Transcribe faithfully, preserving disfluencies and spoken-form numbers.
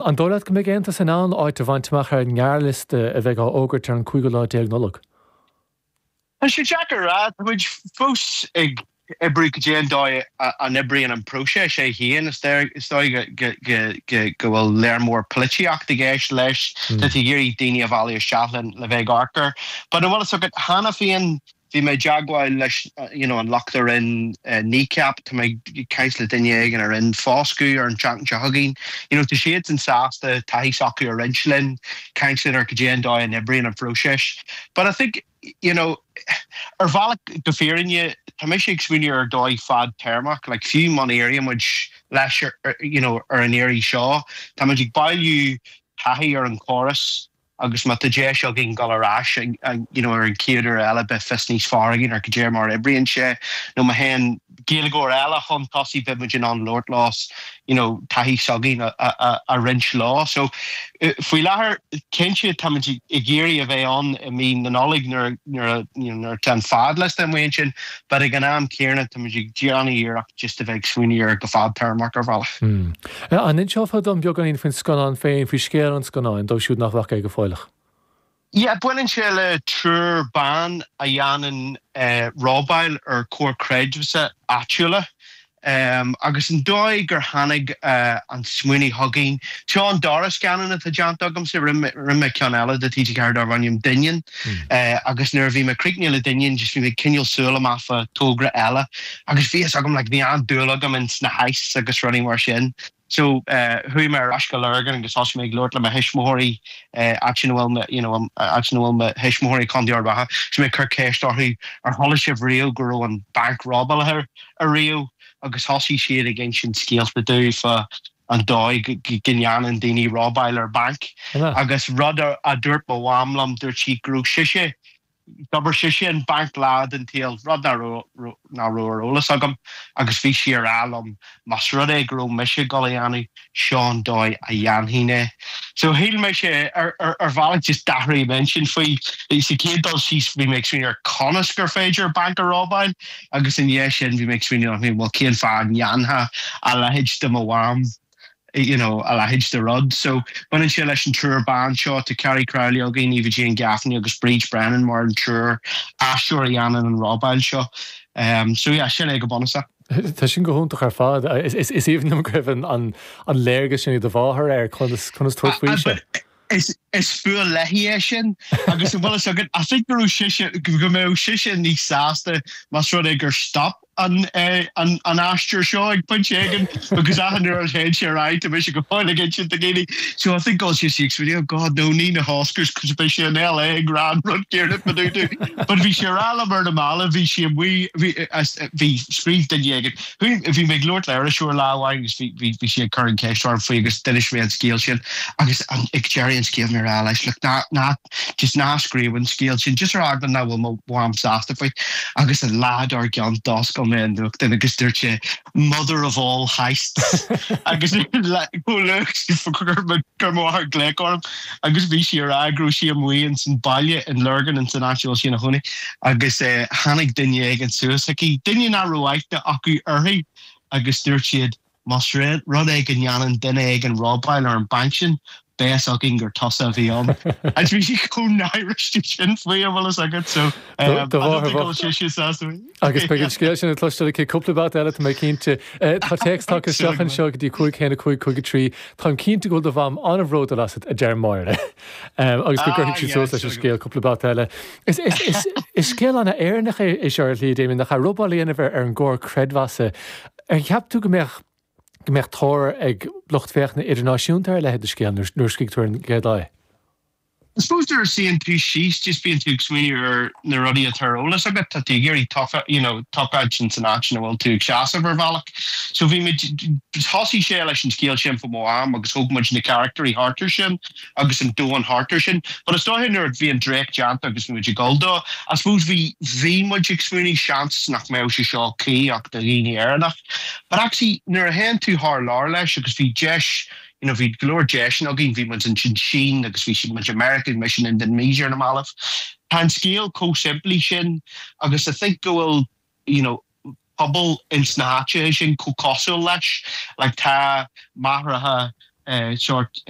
An dóigh leat go mbeidh Aontas in ann áit a bhaint amach ar an ngearrliosta a bheidh á fhógairt ar an cúigiú lá déag Nollag? Tá sé deacair a rá, tá muid fós ag oibriú go dtí an dóigh a n-oibríonn an próiseas é féin. Is dóigh go bhfuil léar mór polaitíocht i gceist leis, tá tú ag iarraidh daoine a mhealladh isteach le bheith ag amharc air. But an bhfuil fhios agat, cheana féin bhí mé i dteagmháil leis you know an lucht a rinne Kneecap, tá mé ag caint le duine éigin a rinne Foscadh ar an tseachtain seo chugainn. You know tá siadsan sásta taithí s'acu a roinnt linn, caint linn ar go dtí an dóigh a n-oibríonn an phróiseas. But I think you know ar bhealach go fírinne tá mise ag smaoineamh ar dóigh fadtéarmach, like fiú má éiríonn muid leis ar, you know, ar an iarraidh seo, tá muid ag bailiú taithí ar an chóras agus má tá deis againn dul ar ais you know, ar an chéad uair eile beidh fios níos fearr againn ar cad é mar oibríonn sé nó má théann Gaeilgeoir eile chun tosaigh beidh muid in ann labhairt leo you know, taithí s'againn a, a, a roinnt leo. So faoi láthair cinnte tá muid ag iarraidh a bheith ann i mí na Nollag nuair nuair nuair atá an fadliosta amuigh ansin, but ag an am céanna tá muid ag déanamh iarracht just a bheith ag smaoineamh ar go fadtéarmach ar bhealach. Hmm. An inseofá dom beagáinín faoin scannán féin faoi scéal an scannáin dóibh siúd nach bhfaca é go fóilleach. Yeah, baineann sé le triúr ban a dhéanann uh, robáil ar chomhair creidmheasa áitiúla. Um, agus an dóigh gur tháinig uh, an smaoineamh chugainn. Seo an dara scannán atá déanta agamsa rinne mé ceann eile do TG Ceathair darb ainm Doineann mm. uh, agus nuair a bhí mé críochnaithe le Doineann just bhí mé cineál súil amach do thogra eile agus bhí agam like, bhí an-dúil agam in sna heists agus rudaí mar sin. So uh, chuaigh mé ar ais go Lurgan agus thosaigh mé ag labhairt le mo thuismitheoirí áit ina bhfuil you know, áit ina bhfuil mo thuismitheoirí Contae Ard Mhacha, so mé cur ceist orthu ar chuala sibh riamh go raibh an banc robáilte ariamh agus thosaigh siad ag insint scéalta domh fá an dóigh go ndéanann daoine robáil ar banc agus rud a dúirt mo mham liom dúirt sí go raibh sise d'oibir sise in banc lá den tsaol rud nach raibh ar eolas agam agus bhí sí ag rá liom más rud é go raibh mise ag dul a dhéanamh seo an dóigh a dhéanfainn é. So shíl mé sé ar ar bhealach just d'athraigh m'intinn faoi sa chéad dul síos bhí mé ag smaoineamh ar conas gur féidir banc a robáil agus i ndiaidh sin bhí mé ag smaoineamh well cén fáth ndéanfadh a leithéid de mo mham you know, a leithéid de rud. So baineann sé leis an triúr ban seo tá Carrie Crowley againn Eva Jane Gaffney agus Bríd Brennan mar an triúr aisteoir a dhéanann an robáil seo. Um, so yeah, sin é go bunúsach. Tá sin go hiontach ar fad is is aoibhinn liom go raibh an an léargas sin do mháthair ar conas conas tabhairt faoi sé. Is is fuath léi é sin agus an bhfuil agad I think go raibh sise go mbeadh sise níos sásta más rud é gur stop an eh, an an aistear seo ag pointe éigin because achan uair a théann sé ar aghaidh tá mise go fóill ag insint do dhaoine. So I think go sé sí oh God no ní na Oscars cos beidh sé in LA ag rá an rud céanna fá dtaobh de. But bhí sé ag rá liom ar na mallaibh bhí sé amuigh bhí bhí scríobh duine éigin. Bhí mé ag labhairt le iriseoir lá amháin agus bhí bhí bhí sí ag cur an ceist orm faoi agus d'inis mé an scéal sin agus an ag deireadh an scéil mé rá leis look ná ná just ná scríobh an scéal sin just ar eagla nach bhfuil mo mham sásta faoi agus an lá dár gcionn d'oscail mé an nuachtán agus dúirt sé mother of all heists agus chuir mo mháthair glaoch orm agus bhí sí ar go raibh sí amuigh in san baile in Lurgan in san áit sí ina cónaí agus eh, tháinig duine éigin suas aici duine nach raibh aithne acu uirthi agus dúirt siad más rud é go ndéanann duine éigin robáil ar an banc sin beidh a fhios againn gur tusa a bhí ann. Agus bhí sí chomh náirithe sin faoi an bhfuil agat so Agus beidh an scéal sin le cloisteáil aici cúpla babhta eile tá mé cinnte. Tá téacs tagtha isteach anseo go dtí cúig haon a cúig cúig a trí Tá cinnte go bhfuil do mham an-bhródúil asat a deir Máire. agus go gcuirfidh sí suas leis an scéal cúpla babhta eile. Is scéal an-Éireannach é seo ar shlí Damien nach robáil a dhéanamh ar an gcomhar creidmheasa. Ar cheap tú go mbeadh go mbeadh tóir ag lucht féachana idirnáisiúnta ar a leithéid de scéal nuair a scríobh tú an chéad lá. I suppose nuair a suíonn tú síos just bíonn tú ag smaoineamh ar na rudaí atá ar eolas agat tá tú ag iarraidh you know, tochailt sin san áit ina bhfuil tú ag seasamh ar bhealach. So bhí muid thosaigh sé leis an scéal sin fá mo mham agus thóg muid na carachtair thart air sin agus an domhan thart air sin. But is dóigh nuair bhí an dréacht déanta agus muid ag dul dó, I suppose bhí bhí muid ag smaoineamh seans nach mbeadh sé seo cuí ach do dhaoine Éireannach. But actually nuair a théann tú thar lear leis agus bhí deis you know, bhí go leor deiseanna againn bhí muid ansin Sín agus bhí muid America mise in Indonesia ar na mallaibh. Tá an scéal chomh simplí sin agus I think go bhfuil you know, pobal ins na háiteacha sin chomh cosúil leis, like tá máithreacha sort